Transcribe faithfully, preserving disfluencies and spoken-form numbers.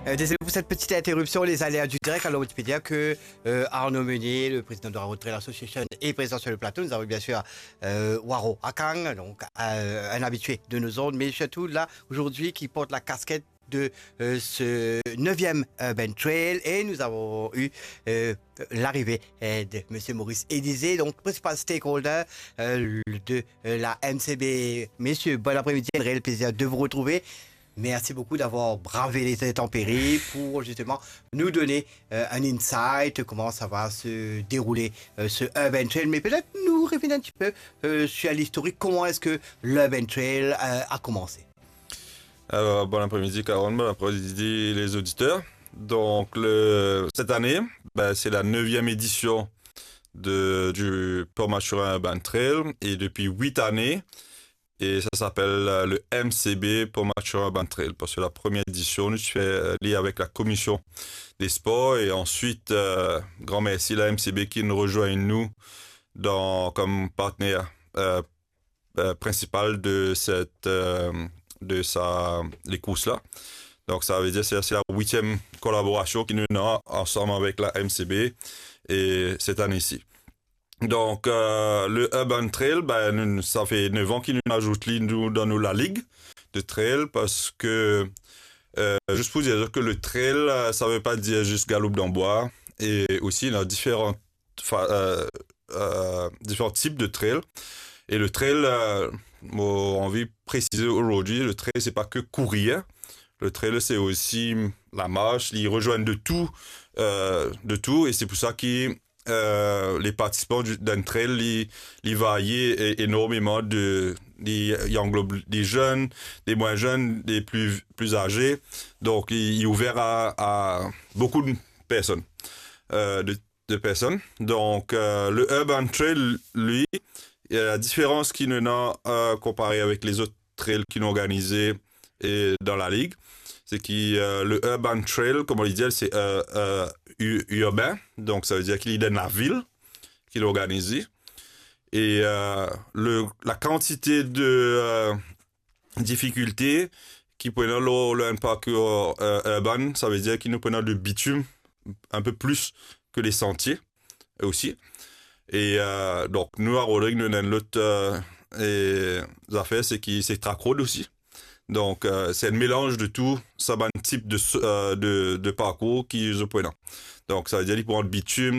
Euh, désolé pour cette petite interruption, les aléas du direct. Alors, tu peux dire que euh, Arnaud Meunier, le président de la Road Trail Association, est présent sur le plateau. Nous avons bien sûr euh, Waro Akang, donc euh, un habitué de nos ondes, mais surtout là, aujourd'hui, qui porte la casquette de euh, ce neuvième Urban Trail. Et nous avons eu euh, l'arrivée euh, de Monsieur Maurice Élisée, donc principal stakeholder euh, de euh, la M C B. Messieurs, bon après-midi, un réel plaisir de vous retrouver. Merci beaucoup d'avoir bravé les intempéries pour justement nous donner euh, un insight, comment ça va se dérouler euh, ce Urban Trail. Mais peut-être nous revenir un petit peu euh, sur l'historique, comment est-ce que l'Urban Trail euh, a commencé. Alors, bon après-midi, Carole, bon après-midi, les auditeurs. Donc, le, cette année, ben, c'est la neuvième édition de, du Port Mathurin Urban Trail. Et depuis huit années, et ça s'appelle euh, le M C B Port Mathurin Urban Trail. Parce que la première édition, nous fait euh, lié avec la commission des sports. Et ensuite, euh, grand merci à la M C B qui nous rejoint, nous, dans, comme partenaire euh, euh, principal de cette euh, de sa les courses là. Donc ça veut dire c'est c'est la huitième collaboration qui nous a ensemble avec la M C B et cette année-ci. Donc euh, le Urban Trail, ben, nous, ça fait neuf ans qu'il nous ajoute li, nous, dans nos la ligue de trail parce que euh, juste pour dire que le trail, euh, ça veut pas dire juste galop dans bois et aussi il y a différentes fa- euh, euh, différents types de trail. Et le trail, euh, moi, j'ai envie de préciser aujourd'hui, le trail, c'est pas que courir. Le trail, c'est aussi la marche, ils rejoignent de tout, euh, de tout. Et c'est pour ça que euh, les participants du- d'un trail, ils, ils varient é- énormément de, ils, ils englobent des jeunes, des moins jeunes, des plus, plus âgés. Donc, ils, ils ouverts à, à beaucoup de personnes. Euh, de de personnes. Donc, euh, le Urban Trail, lui, il y a la différence qu'il en a euh, comparé avec les autres trails qu'il a organisés et dans la ligue. C'est que euh, le Urban Trail, comme on le dit, c'est euh, euh, u- urbain. Donc, ça veut dire qu'il est dans la ville qu'il organise. Et euh, le, la quantité de euh, difficultés qui prennent le, le, un parcours euh, urbain, ça veut dire qu'il nous prenons de bitume un peu plus que les sentiers aussi. Et euh, donc, nous, à Rodrigue, nous avons l'autre euh, et, affaire, c'est que c'est track road aussi. Donc, euh, c'est un mélange de tout, ça, un type de, euh, de, de parcours qui est prenant. Donc, ça veut dire qu'il prend le bitume,